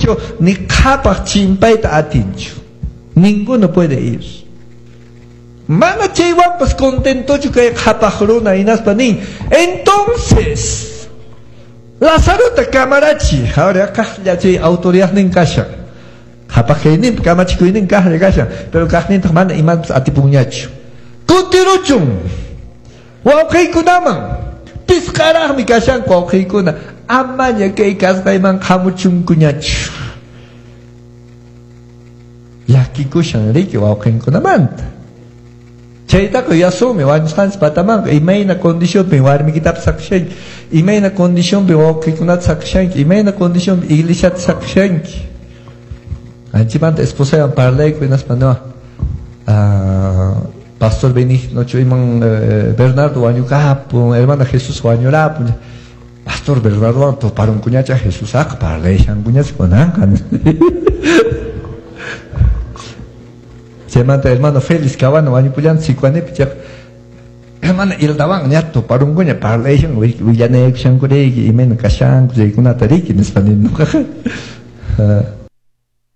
atinchu, ni qhapaq chimpayta atinchu. Ninguno puede ir. Mana chaywanpas contentochu kay qhapaq runa hinaspa nin. Entonces, Lazarota kamarachi, ahora kaqlla chay autoridadnin kashan. Qhapaq kayninpi kamachikuynin kaqlla kashan, pero kaqnintaq mana imapas atipunñachu. Kutiruchun wawqiykunaman, pisqaraqmi kashanku wawqiykuna, amaña kay kasqayman hamuchunkuñachu. Llakikushan riki wawqinkunamanta. Chaytaqa yuyasumi wañusqanchis patamanqa imayna condicionpi warmikitapas saqishanki, imayna condicionpi wawqikunata saqishanki, imayna condicionpi iglesiata saqishanki. Anchimanta esposaywan parlayku hinaspa no, pastor Benigno iman Bernardo wañukapun, hermana Jesús wañurapun. Pastor Bernardo tuparunkuñacha Jesusaqa parlashankuñacha kunanqa. Chaymanta hermano Félix Cabano wañupullan Sicuanipi chayqa hermana Hildawan ña tuparunkuña parlashan willanaykushankurayki imayna kashanku chaykunata riki nispa nini ñuqaqa.